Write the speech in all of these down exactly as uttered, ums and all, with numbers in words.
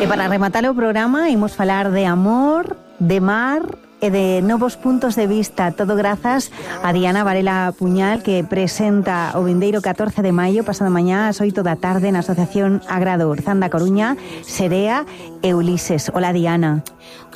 E para rematar o programa, imos falar de amor, de mar e de novos puntos de vista, todo grazas a Diana Varela Puñal, que presenta o vindeiro catorce de maio, pasado mañá ás oito da tarde, na Asociación Agrado Orzán da Coruña, Serea e Ulises. Hola, Diana.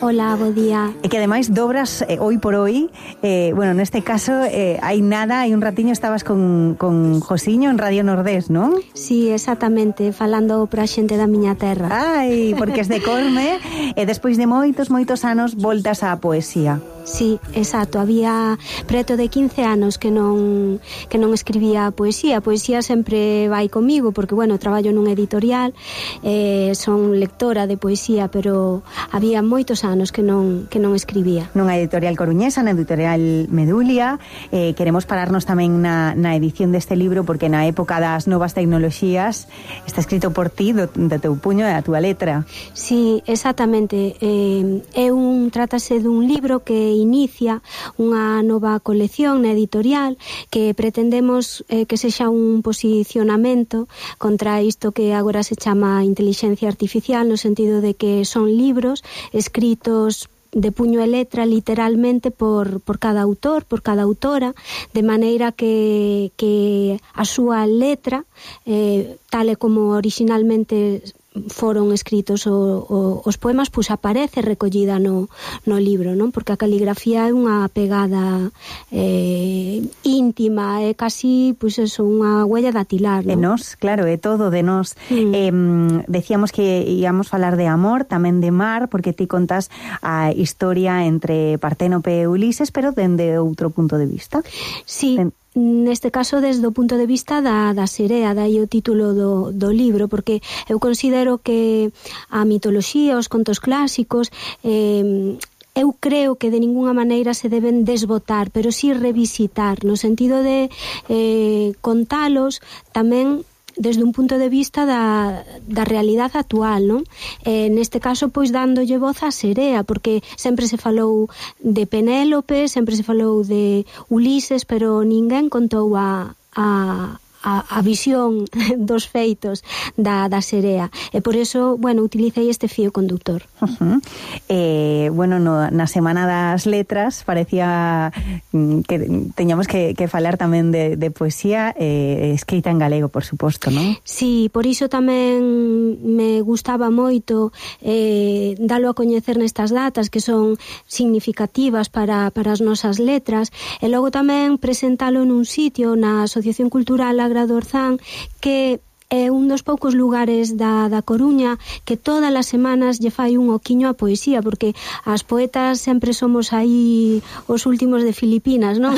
Hola, bo día. E que ademais dobras eh, hoy por hoy, eh, bueno, neste caso eh, hai nada, hai un ratiño estabas con, con Josiño en Radio Nordés, non? Sí, exactamente, falando pra xente da miña terra. Ai, porque es de Corme, e despois de moitos, moitos anos voltas á poesía. Sí, exacto, había preto de quince anos que non que non escribía poesía. A poesía sempre vai comigo porque, bueno, traballo nun editorial, eh, son lectora de poesía, pero había moitos anos que non que non escribía. Nunha editorial coruñesa, na editorial Medulia, eh, queremos pararnos tamén na, na edición deste libro porque na época das novas tecnoloxías está escrito por ti, do, do teu puño e da túa letra. Sí, exactamente. Eh, é un, trátase dun libro que inicia unha nova colección na editorial que pretendemos eh, que sexa un posicionamento contra isto que agora se chama inteligencia artificial, no sentido de que son libros escritos de puño e letra literalmente por, por cada autor, por cada autora, de maneira que, que a súa letra, eh, tal e como originalmente foron escritos o, o, os poemas, pois aparece recollida no, no libro, non? Porque a caligrafía é unha pegada eh, íntima, é casi, pois eso, unha huella dactilar, non? De nós, claro, é todo de nós. Mm. Eh, decíamos que íamos falar de amor, tamén de mar, porque ti contas a historia entre Parténope e Ulises, pero dende outro punto de vista. Sí. Den... Neste caso desde o punto de vista da, da serea, dai o título do, do libro, porque eu considero que a mitoloxía, os contos clásicos, eh, eu creo que de ninguna maneira se deben desbotar, pero sí revisitar, no sentido de eh, contalos tamén desde un punto de vista da, da realidade actual, non? Eh, neste caso, pois, dándolle voz á serea, porque sempre se falou de Penélope, sempre se falou de Ulises, pero ninguén contou a, a, a, a visión dos feitos da, da serea. E por eso, bueno, utilicei este fío conductor. Uh-huh. Eh, bueno, no, na Semana das Letras parecía que teñamos que, que falar tamén de, de poesía eh, escrita en galego, por suposto, non? Sí, por iso tamén me gustaba moito eh, dalo a coñecer nestas datas que son significativas para, para as nosas letras, e logo tamén presentalo nun sitio na Asociación Cultural Agrado Orzán, que é un dos poucos lugares da, da Coruña que todas as semanas lle fai un oquiño a poesía, porque as poetas sempre somos aí os últimos de Filipinas, non?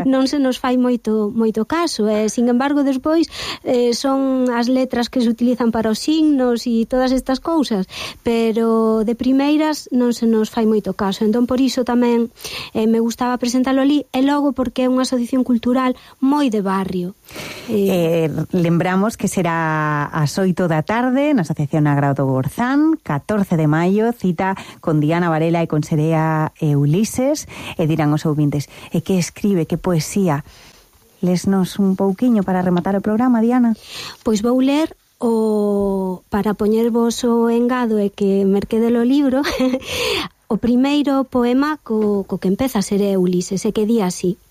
Non se nos fai moito moito caso, e, sin embargo, despois eh, son as letras que se utilizan para os signos e todas estas cousas, pero de primeiras non se nos fai moito caso, entón por iso tamén eh, me gustaba presentalo ali, e logo porque é unha asociación cultural moi de barrio. Eh, eh, lembramos que será ás oito da tarde na Asociación Agrado Orzán, catorce de maio, cita con Diana Varela e con Serea e Ulises, e dirán os ouvintes, e que escribe, que poesía. Lesnos un pouquiño para rematar o programa, Diana. Pois vou ler o para poñervos o engado e que merquede o libro o primeiro poema co, co que empeza a Serea e Ulises, e que di así: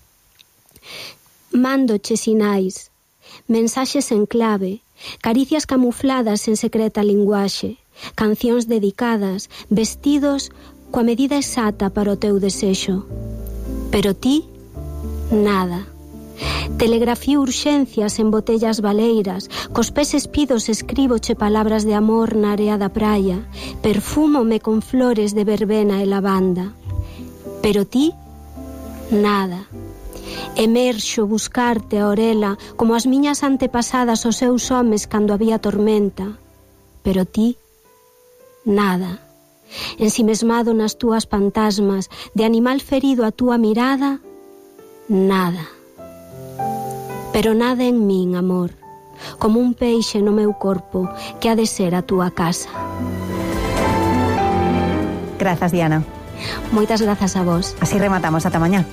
mándoche sinais, mensaxes en clave, caricias camufladas en secreta linguaxe, cancións dedicadas, vestidos coa medida exacta para o teu desexo. Pero ti, nada. Telegrafío urxencias en botellas baleiras, cos pés espidos escríboche palabras de amor na area da praia, perfúmome con flores de verbena e lavanda. Pero ti, nada. Emerxo buscarte a orela como as miñas antepasadas os seus homes cando había tormenta. Pero ti, nada. Ensimesmado nas túas fantasmas, de animal ferido a túa mirada, nada. Pero nada en min, amor, como un peixe no meu corpo que ha de ser a túa casa. Grazas, Diana. Moitas grazas a vos. Así rematamos, ata mañá.